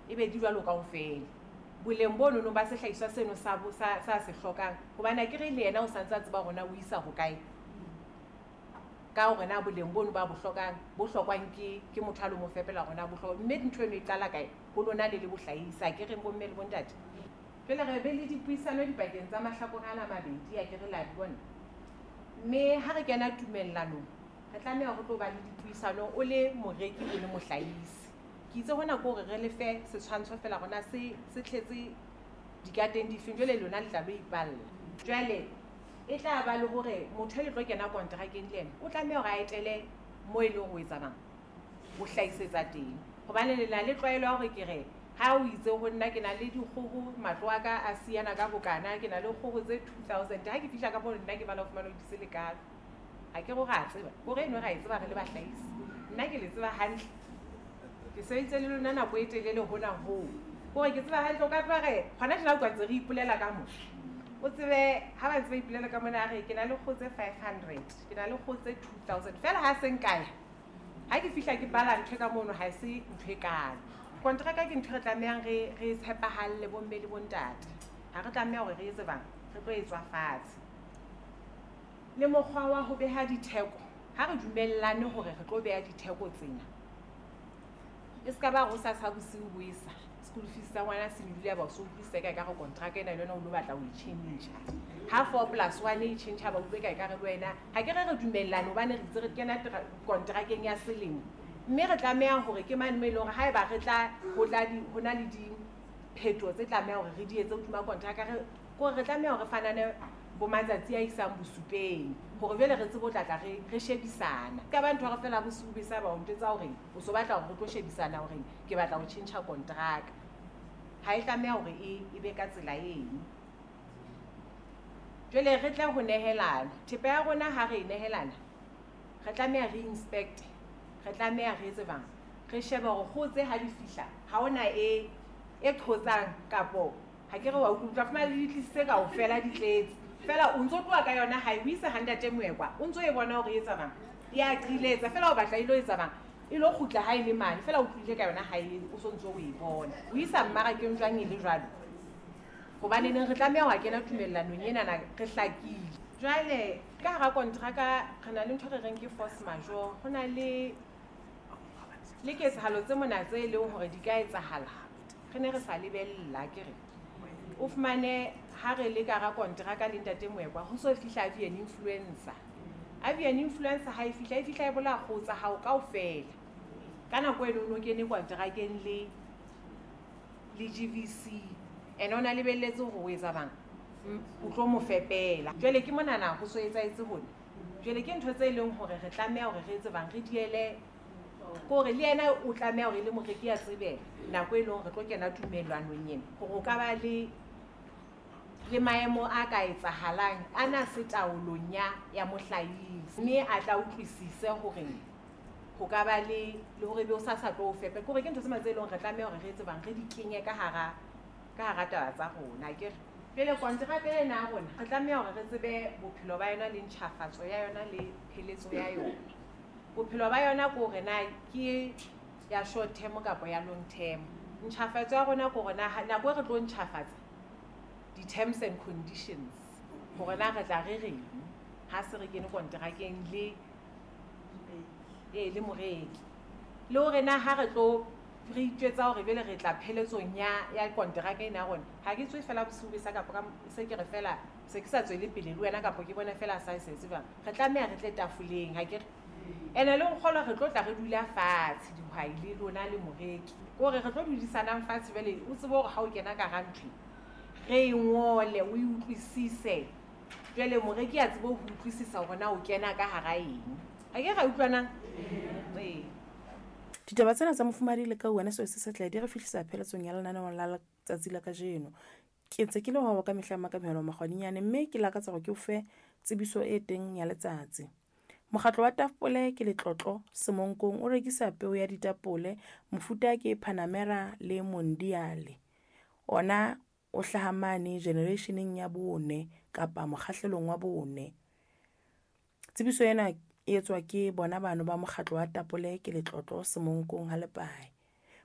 E be di jwalo kaofela. Boleng bonono ba sehlahiswa seno sa sa se hlokang, hobane akere le yena o sa ntse a tseba hore na o isa hokae, ka hore na boleng bono ba bo hlokang, bo hlokwang ke motho a lo mo fepela, hore na bo hloka. Mme ntho eno e qala kae? Ho lona le le bohlahisi, akere, bomme le bontate? Jwale re be le dipuisano dipakeng tsa mahlakore ana a mabedi, akere la di bona? Mme ha re kena tumellanong, re tlameha ho tlo ba le dipuisano, o le moreki, o le mohlahisi. Ke itse hona ke hore re le fe setshwantsho feela hore na se tletse dikateng difeng. Jwale lona le tla lo ipalla. Jwale e tla ba le hore motho e le tlo kena kontrakeng le ena o tlameha hore a etele mo e leng hore o etsa bang, o hlahisetsa teng, hobane le na le tlwaelo ya hore ke re ha o itse ho nna, ke na le dikgoho, matlo a ka a siyana ka bokana, ke na le kgoho tse 2000. Ha ke fihla ka moo, nna ke bala ho fumana o di se lekalo. Ha ke re a tseba kore eno ra e tseba re le bahlahisi. Nna ke le tseba hantle, ke sebeditse le lona nako e telele hona hoo, kore ke tseba hantle. O ka tloha re hona tjena, utlwa ntse re ipolela ka mo, o tsebe ha ba ntse ba ipolela ka mona, a re ke na le kgoho tse 500, ke na le kgoho tse 2000 fela. Ha se nkaya, ha ke fihla ke bala ntho e ka mono, ha se ntho e kalo. Kontraka ke ntho re tlamehang re tshepahalle, bomme le bontate. Ha re tlameha hore re etse bang, re tlo e tswa fatshe le mokgwa wa ho beha ditheko. Ha re dumellane hore re tlo beha ditheko tsena, e se ka ba ho sa bosiu bo esa school fees tsa ngwana se nyolohile, ba o so utlwisisa ka ekare kontraka ena le wena o lo batla ho e tjhentjha. Ha four plus one e tjhentjha, ba utlwe ka ekare le wena. Ha ke re re dumellane, hobane re itse re kena kontrakeng ya selemo, mme re tlameha hore ke mane mo e leng hore haeba re tla ho tla di ho na le diphetoho tse tlameha hore re di etse hodima kontraka, re kore re tlameha hore re fanane bo matsatsi a isang bosupeng, hore jwale re tsebe ho tlatla re shebisana ka ba ntho. Re fela bosiu be sa ba o ntjwetsa hore o so batla hore re tlo shebisana hore ke batla ho tjhentjha kontraka. Ha e tlameha hore e be ka tsela eno. Jwale re tle ho nehelana thepa ya rona. Ha re e nehelana, re tlameha re inspect, re tlameha re etse bang, re shebe hore kgoho tse ha di fihla ha hona e qhotsang kapo ha ke re wa utlwa. Fumana le di tlisitse kaofela, di tletse fela, o ntso tloha ka yona hae, o isa ha ntate Moekwa, o ntso e bona hore e etsa bang, ya qiletsa fela, o batla e lo etsa bang, e lo kgutla ha e le mane fela, o tlohile ka yona hae, o so ntso o e bona, o isa mmarakeng jwang e le jwalo? Hobaneneng re tlameha ho kena tumellanong enana re hlakile. Jwale ka hara kontraka re na le ntho re reng ke force majeure. Ho na le ketsahalo tse mona tse e leng hore di ka etsahala re ne re sa lebella. Ke re o fumane ha re le ka hara kontraka le ntate Moekwa, ho so fihla avian influenza. Avian influenza ha e fihla, e fihla e bolaya kgoho tsa hao kaofela. Ka nako eno o no kene kontrakeng le GVC, ene o na lebelletse hore o etsa bang, o tlo mo fepela. Jwale ke monana ho so etsahetse hona. Jwale ke ntho tse leng hore re tlameha hore re etse bang, re diele kore le yena o tlameha hore e le moreki a tsebe nako e leng hore re tlo kena tumellanong ena, hore o ka ba le maemo a ka etsahalang a na se taolong ya mohlahisi, mme a tla utlwisise hore ho ka ba le hore ebe o sa tlo o fepe. Kore ke ntho tse tse leng re tlameha hore re etse bang, re di kenye ka hara taba tsa rona. Akere jwale kontraka ena ya rona, re tlameha hore re tsebe bophelo ba yona le ntjhafatso ya yona le pheletso ya yona. Bophelo ba yona ke hore na ke ya short term kapa ya long term. Ntjhafatso ya rona ke hore na nako e re tlo ntjhafatsa di-terms and conditions, hore na re tla re reng ha se re kene kontrakeng le moreki, le hore na ha re tlo re itjwetsa hore jwale re tla pheletsong ya kontraka ena ya rona, ha ke tswe fela bosiu be sa kapa ka se ke re fela se ke sa tswele pele le wena, kapa ke bona fela sa se etse jwang. Re tlameha re tle tafoleng, ha ke re ene le nkgolwa, re tlo tla re dula fatshe, dihwai le lona le moreki, ke hore re tlo dudisanang fatshe. Jwale o tsebe hore ha o kena ka hara ntho re e ngole, o e utlwisise. Jwale moreki a tsebe ho utlwisisa hore na o kena ka hara eng. Ha ke ra utlwanang? Ee. Ditaba tsena tsa mofumahadi le ka wena seo se setle di re fihlisa pheletsong ya lenaneo la letsatsi la kajeno. Ke ntse ke le wa ka mehla Makamehelo Makgwadinyane, mme ke lakatsa hore ke o fe tsebiso e teng ya letsatsi. Mokgatlo wa Tapole ke Letlotlo Semonkong o rekisa peo ya ditapole, mofuta ke Panamera le Mondiale. Ona o hlaha mane generationeng ya bone kapa mokgahlelong wa bone. Tsebiso ena e etswa ke bona bano ba mokgatlo wa Tapole ke Letlotlo Semonkong ha Lepae.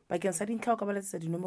Bakeng sa dintlha o ka ba letsetsa dinomoro.